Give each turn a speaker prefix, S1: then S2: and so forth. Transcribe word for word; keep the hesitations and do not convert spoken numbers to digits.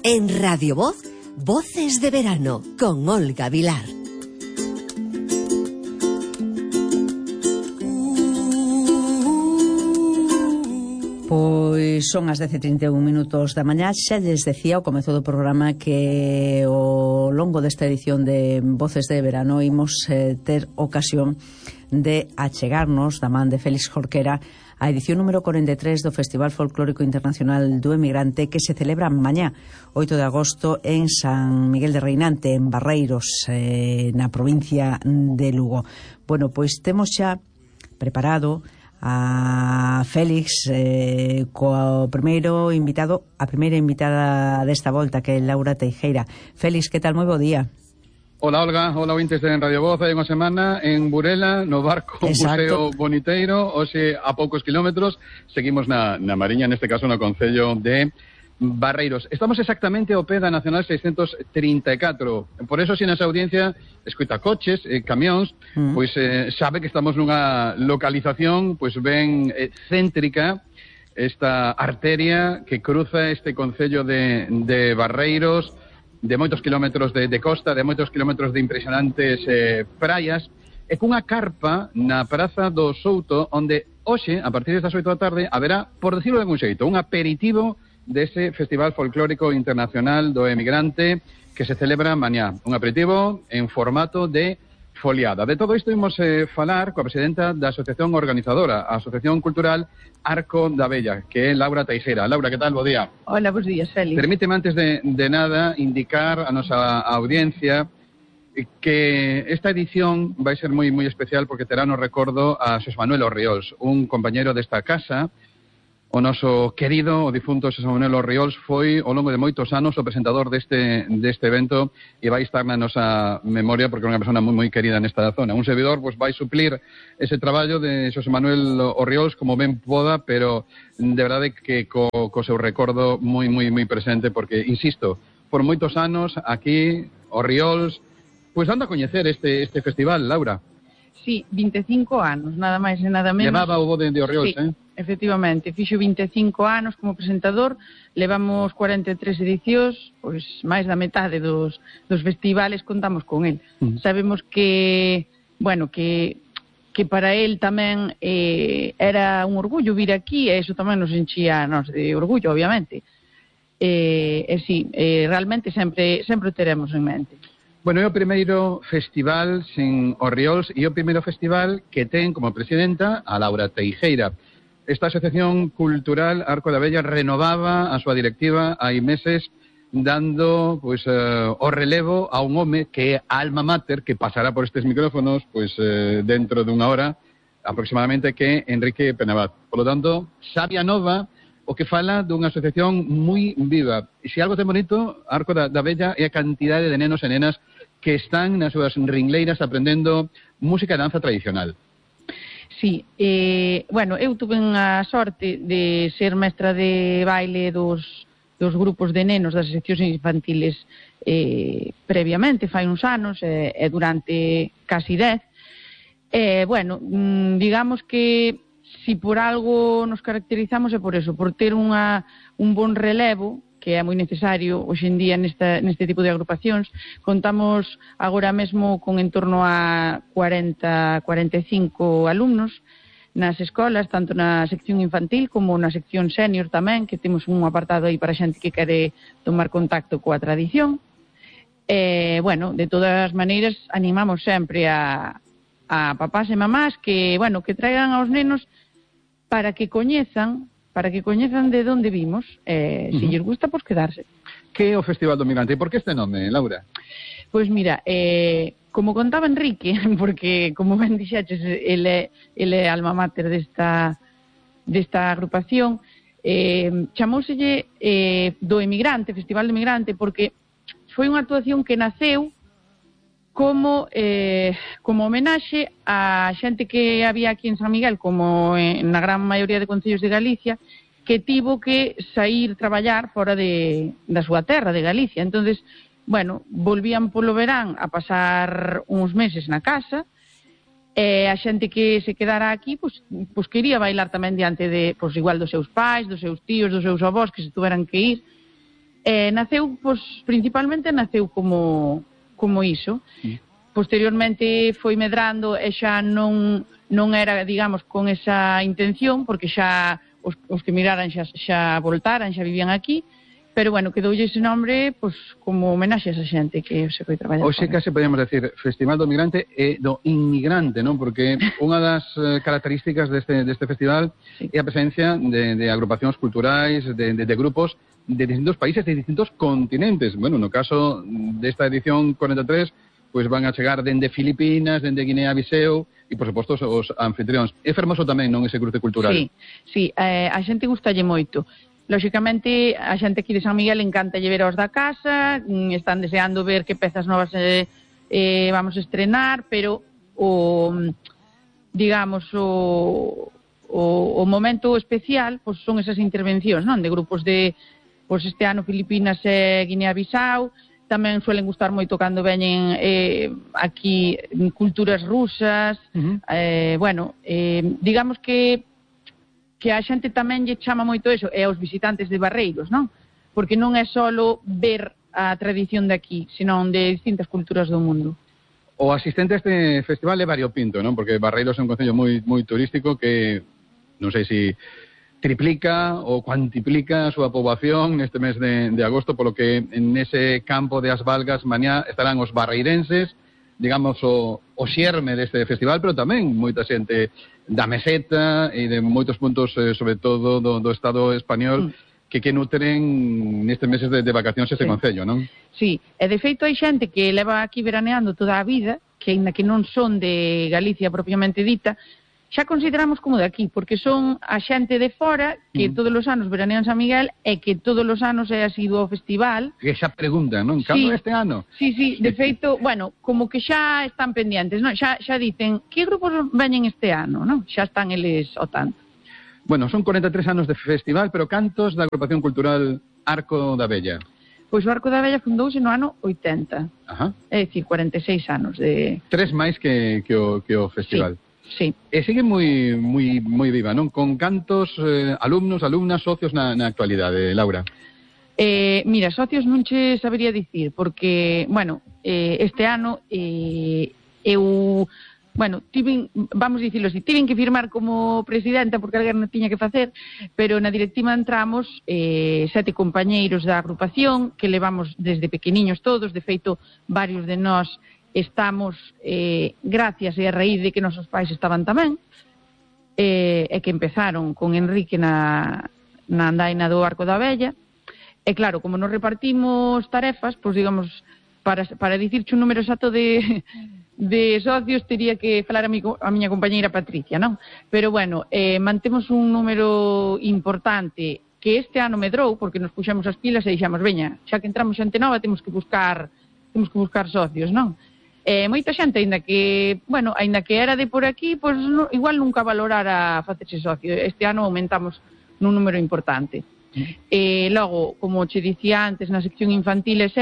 S1: En Radio Voz, Voces de Verano, con Olga Vilar.
S2: Pois son as dez e trinta e un minutos da mañá. Xa lles decía ao comezo do programa que ao longo desta edición de Voces de Verano imos eh, ter ocasión de achegarnos da man de Félix Jorquera a edición número cuarenta e tres do Festival Folclórico Internacional do Emigrante, que se celebra mañá, oito de agosto, en San Miguel de Reinante, en Barreiros, eh, na provincia de Lugo. Bueno, pois temos xa preparado a Félix eh, co primeiro invitado, a primeira invitada desta volta, que é Laura Teijeira. Félix, que tal? Moi bo día.
S3: Hola, Olga, hola ointes en Radio Voz. Hai unha semana en Burela, no barco Museo Boniteiro, hoxe a poucos kilómetros, seguimos na, na Mariña, neste caso no concello de Barreiros. Estamos exactamente ao pé da Nacional seiscentos trinta e catro. Por eso, se nesa audiencia escoita coches, eh, camións, mm. pois eh, sabe que estamos nunha localización pois ben eh, céntrica, esta arteria que cruza este concello de, de Barreiros, de moitos kilómetros de, de costa, de moitos kilómetros de impresionantes eh, praias, e cunha carpa na Praza do Souto, onde hoxe, a partir das oito da tarde, haberá, por decirlo de algún xeito, un aperitivo dese Festival Folclórico Internacional do Emigrante que se celebra mañá. Un aperitivo en formato de foliada. De todo isto imos eh, falar coa presidenta da asociación organizadora, a Asociación Cultural Arco da Vella, que é Laura Teijeira. Laura, que tal? Bo día.
S4: Hola, bons días, Félix.
S3: Permíteme antes de, de nada indicar a nosa audiencia que esta edición vai ser moi moi especial porque terá no recordo a Xosé Manuel Orriols, un compañero desta casa. O noso querido, o difunto Xosé Manuel Orriols foi, ao longo de moitos anos, o presentador deste, deste evento e vai estar na nosa memoria porque é unha persona moi moi querida nesta zona. Un servidor pois, vai suplir ese traballo de Xosé Manuel Orriols como ben poda, pero de verdade que co, co seu recordo moi moi moi presente porque, insisto, por moitos anos aquí, Orriols, pois anda a coñecer este, este festival, Laura.
S4: Sí, vinte e cinco anos, nada máis e nada menos.
S3: Levaba o bo de, de Orriols,
S4: sí,
S3: eh?
S4: Efectivamente, fixo vinte e cinco anos como presentador, levamos cuarenta e tres edicións, pois máis da metade dos, dos festivales contamos con el. Uh-huh. Sabemos que, bueno, que, que para el tamén eh, era un orgullo vir aquí, e iso tamén nos enchía nos de orgullo, obviamente. E, e sí, eh, realmente sempre, sempre o teremos en mente.
S3: Bueno, é o primeiro festival sin Orriols e o primeiro festival que ten como presidenta a Laura Teijeira. Esta Asociación Cultural Arco da Vella renovaba a súa directiva hai meses dando pois, uh, o relevo a un home que é alma mater, que pasará por estes micrófonos pois, uh, dentro dunha hora aproximadamente, que é Enrique Penabat. Por lo tanto, sabia nova, o que fala dunha asociación moi viva. E se algo ten bonito, Arco da, da Vella, é a cantidade de nenos e nenas que están nas súas ringleiras aprendendo música e danza tradicional.
S4: Sí, eh, bueno, eu tuve a sorte de ser mestra de baile dos, dos grupos de nenos das seccións infantiles eh, previamente, fai uns anos, e eh, durante casi dez. Eh, bueno, digamos que si por algo nos caracterizamos é por eso, por ter unha, un bon relevo, que é moi necesario hoxe en día nesta, neste tipo de agrupacións. Contamos agora mesmo con en torno a cuarenta, cuarenta e cinco alumnos nas escolas, tanto na sección infantil como na sección senior tamén, que temos un apartado aí para xente que quere tomar contacto coa tradición. E, bueno, de todas as maneiras, animamos sempre a, a papás e mamás que, bueno, que traigan aos nenos para que coñezan para que coñezan de onde vimos, eh, uh-huh. Se lles gusta, pois quedarse.
S3: Que é o Festival do Emigrante? E por que este nome, Laura?
S4: Pois mira, eh, como contaba Enrique, porque, como ben dixeches, ele, ele é alma mater desta, desta agrupación, eh, chamóuselle eh, do Emigrante, Festival do Emigrante, porque foi unha actuación que naceu como eh, como homenaxe a xente que había aquí en San Miguel, como en, na gran maioría de concellos de Galicia, que tivo que sair traballar fora de, da súa terra, de Galicia. Entonces, bueno, volvían polo verán a pasar uns meses na casa, e a xente que se quedara aquí, pois, pois quería bailar tamén diante de, pois igual dos seus pais, dos seus tíos, dos seus avós, que se tuveran que ir. Eh, naceu, pois, principalmente naceu como, como iso. Sí. Posteriormente foi medrando e xa non, non era, digamos, con esa intención, porque xa os, os que miraran xa, xa voltaran, xa vivían aquí, pero, bueno, quedoulle ese nombre pois, como homenaxe a esa xente que se foi traballar.
S3: Hoxe case podemos decir Festival do Migrante e do Inmigrante, non? Porque unha das características deste, deste festival sí. é a presencia de, de agrupacións culturais, de, de, de grupos de distintos países, de distintos continentes. Bueno, no caso desta edición cuarenta e tres, pois van a chegar dende Filipinas, dende Guinea-Biseu e, por suposto, os anfitrións. É fermoso tamén, non, ese cruce cultural?
S4: Sí, sí, eh, a xente gustalle moito. Lóxicamente, a xente aquí de San Miguel encanta ver aos da casa, están deseando ver que pezas novas eh, eh, vamos a estrenar, pero o, digamos, o, o, o momento especial pois, son esas intervencións, non? De grupos de, pois este ano Filipinas e Guinea-Bisau, tamén suelen gustar moito cando veñen eh, aquí culturas rusas, uh-huh. eh, bueno, eh, digamos que que a xente tamén lle chama moito eso, e aos visitantes de Barreiros, non? Porque non é só ver a tradición de aquí, senón de distintas culturas do mundo.
S3: O asistente a este festival é variopinto, non? Porque Barreiros é un concello moi moi turístico que non sei se triplica ou cuantiplica a súa poboación neste mes de, de agosto, polo que en ese campo de Asvalgas mañá estarán os barreirenses, digamos, o, o xerme deste festival, pero tamén moita xente da meseta e de moitos puntos, eh, sobre todo do, do Estado español, mm. que que nutren nestes meses de, de vacacións este sí. concello, non?
S4: Sí, e de feito hai xente que leva aquí veraneando toda a vida, que ainda que non son de Galicia propiamente dita, xa consideramos como de aquí, porque son a xente de fora que mm. todos os anos veranean San Miguel e que todos os anos é asiduo ao festival.
S3: Que xa preguntan, non? Cando
S4: sí.
S3: este ano?
S4: Sí, sí, de feito, bueno, como que xa están pendientes, non? Xa, xa dicen, que grupos veñen este ano, non? Xa están eles ao tanto.
S3: Bueno, son cuarenta e tres anos de festival, pero cantos da agrupación cultural Arco da Vella?
S4: Pois o Arco da Vella fundouse no ano oitenta.
S3: Ajá.
S4: É dicir, cuarenta e seis anos de...
S3: Tres máis que, que, o, que o festival.
S4: Sí. Sí.
S3: E sigue moi moi moi viva, non? Con cantos eh, alumnos, alumnas, socios na, na actualidade, Laura?
S4: Eh, mira, socios non che sabería dicir, porque, bueno, eh, este ano eh, eu, bueno, tiven, vamos dicirlo así, tiven que firmar como presidenta porque alguén non tiña que facer, pero na directiva entramos eh, sete compañeiros da agrupación que levamos desde pequeniños todos, de feito, varios de nós estamos, eh, gracias e a raíz de que nosos pais estaban tamén, eh, e que empezaron con Enrique na, na andaina do Arco da Vella, e claro, como nos repartimos tarefas, pois digamos, para, para dicirche un número exacto de, de socios, teria que falar a, mi, a miña compañeira Patricia, non? Pero bueno, eh, mantemos un número importante que este ano medrou, porque nos puxemos as pilas e dixemos, veña, xa que entramos xente nova, temos que buscar, temos que buscar socios, non? Eh, moita xente, aínda que, bueno, aínda que era de por aquí, pois no, igual nunca valorara facerse socio. Este ano aumentamos nun número importante. Mm. Eh, logo, como che dicía antes, na sección infantil e